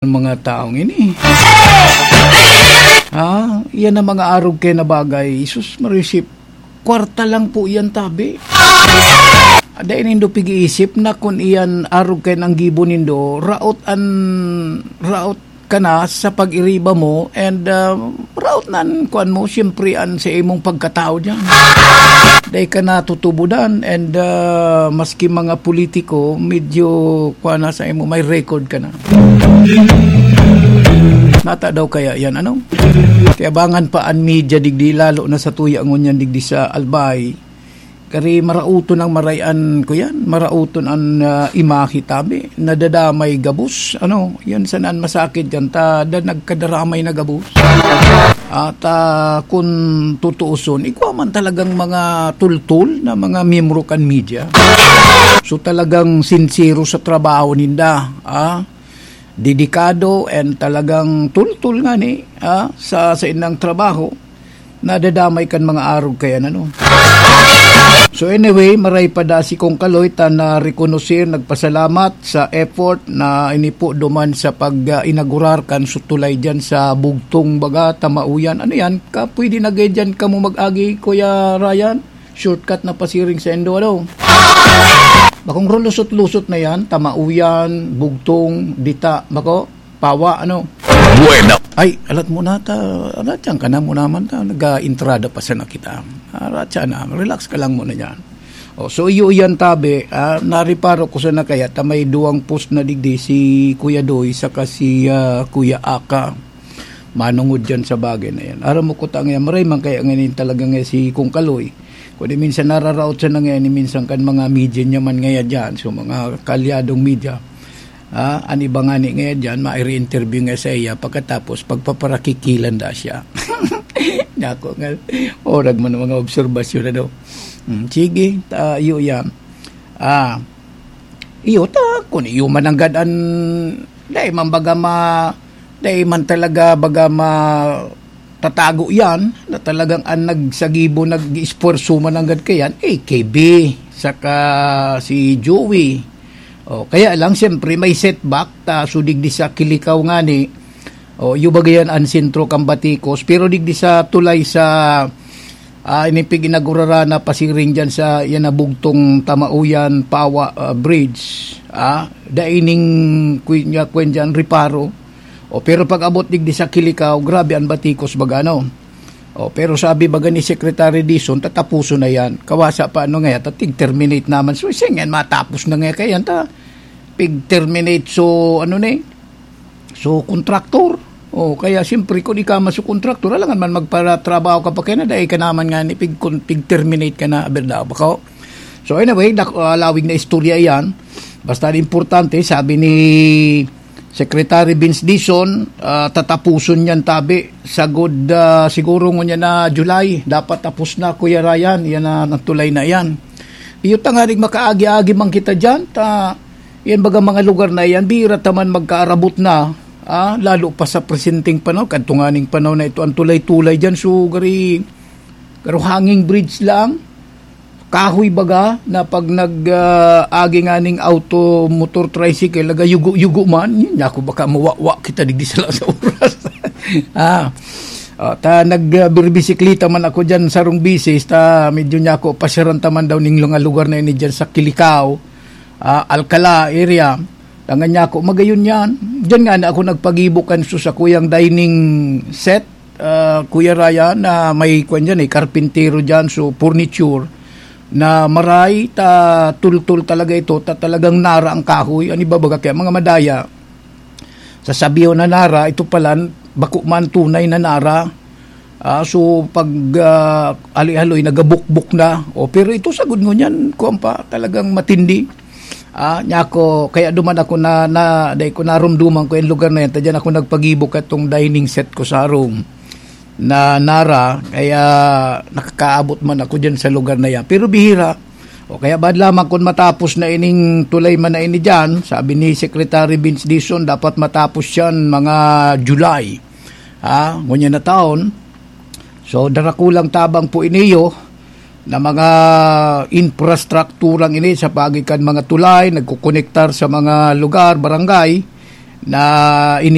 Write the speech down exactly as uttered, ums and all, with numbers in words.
mga taong ini. Ah, yan ang mga arog kaya na bagay. Sus, marisip. Kwarta lang po yan, tabi. Dahil nindo pig-iisip na kung iyan arog kaya nang gibo nindo, raot an, raot ka na sa pag-iriba mo, and, ah, raot nan kuan mo, siyempre, an sa imong pagkatao diyan. Dai ka natutubodan, and, ah, maski mga politiko, medyo kuan na sa imo, may record ka na. Nata daw kaya yan, ano? Kaya bangan pa an media digdi, lalo na sa tuya ngunyan digdi sa Albay. Kari marauton ang marayan ko yan, marauton an, ah, imahe tabi, nadadamay gabos, ano, yan sana an masakit dyan, ta da nagkadaramay na gabos. At, ah, kun tutuuson, igwa man talagang mga tultol na mga miyembro kan media. So, talagang sinsero sa trabaho ninda, ah, dedikado and talagang tultol ngani, ah, sa, sa indang trabaho. Nadadamay kan mga arog kaya na, no? So anyway, maray pa da si Kong Kaloy ta na-rekonoser, nagpasalamat sa effort na inipo duman sa pag, ah, inaugurar kan sutulay diyan sa bugtong baga, Tamauyan. Ano yan? Ka, pwede na gay diyan kamo mag-agi, Kuya Ryan? Shortcut na pasiring sa Indo, ano? Bakong lusot-lusot na yan, Tamauyan, Bugtong, Dita, bako, Pawa, ano? Bueno. Ay, alat mo na ta, alat yan ka na mo naman ta, nag-intrada pa sana kita. Alat siya na, relax ka lang muna dyan. O, so, iyo yan, tabi, ah, nariparo ko sana kaya ta may duwang post na digdi, si Kuya Doy saka si, ah, Kuya Aka. Manungod dyan sa bagay na yan. Aram mo, kutang yan, maray man kaya ngayon talaga nga si Kung Kaloy. Kundi minsan nararaot siya na ngayon, minsan kan mga media niya man ngayon dyan. So, mga kalyadong media. Ah, an iba ngani ngayon dyan, mairi-interview nga sa iya, pagkatapos, pagpaparakikilan da siya. Nako nga, orag man ang mga obserbasyon, ano? Hmm, sige, ta, iyo yan. Ah, iyo ta, kun iyo man nanggad an, dai man baga ma, dai man talaga baga ma, tatago yan, na talagang an nagsagibo, nag-esfuerso man nanggad kayan, A K B, saka si Joey. O, kaya lang, siyempre, may setback, ta, so digdi sa Kilikao ngani, o, iyo baga yan an sentro kan Baticos, pero digdi sa tulay sa, ah, ini pig-inagurara na pasiring dyan sa, yan na bugtong Tamauyan, Pawa, ah, Bridge, ah, dai ning kwen-, kwen dyan, reparo. O, pero pag-abot digdi sa Kilikao, grabe an Baticos baga, no? O, pero sabi baga ni Secretary Dizon, tatapuson na yan. Kawasa pa, ano nga yan, ta tig-terminate naman. So, siya nga, matapos na nga kaya yan, ta pig-terminate, so, ano na eh, so, contractor. O, kaya siyempre, kung ikaw man so contractor, alangan man magparatrabaho ka pa kaya na, dahil ka naman nga ni pig-, pig-terminate ka na, aber daw, bako? So, anyway, dak-, ah, lawig na istorya yan. Basta importante, sabi ni Secretary Vince Dizon, ah, tatapuson niyan tabi. Sagod, ah, siguro ngunyan na July, dapat tapos na, Kuya Ryan. Yan na, natulay na yan. Iyo tanganing makaagi-agi man kita dyan, ta, yan baga mga lugar na yan, bira ta man magkaarabot na, ah, lalo pa sa presenteng panahon, kadto nganing panahon na ito, ang tulay-tulay dyan, so, gari, garo hanging bridge lang, kahoy baga, na pag nag, ah, agi nganing auto, motor, tricycle, nagayugo-yugo man, yun, ako baka mawawa kita digdi sa, sa oras. Ah, ah, ta, nag, ah, birbisikleta man ako dyan, sarong bisis, ta, medyo niya ako, pasyaran ta man daw ning mga lugar na ini dyan sa Kilikao, ah, Alcala area. Tangan niya ako, magayon yan. Diyan nga na ako nagpagibo kan so sa kuyang dining set, ah, Kuya Ryan, na may kwan dyan eh, karpintero dyan, so furniture, na maray, ta tultol talaga ito, ta talagang nara ang kahoy, ang iba baga kaya mga madaya. Sasabihin na nara, ito pala, bako man tunay na nara. Ah, so, pag, ah, haloy-haloy, nagabukbok na. O, pero ito, sagod ngunyan, kuwan pa, talagang matindi. Ah, niya ako, kaya duman ako na, na, dahil ko narumduman ko yung lugar na yan, ta dyan ako nagpagibo katong dining set ko sa room na nara, kaya nakakaabot man ako dyan sa lugar na yan. Pero bihira, o kaya bad lamang kung matapos na ining tulay man na ini dyan, sabi ni Secretary Vince Dizon, dapat matapos yan mga July. Ha? Ngunyan na taon. So, darakulang tabang po iniyo na mga infrastrukturang ini sa paagi kan mga tulay, nagkukonektar sa mga lugar, barangay, na ini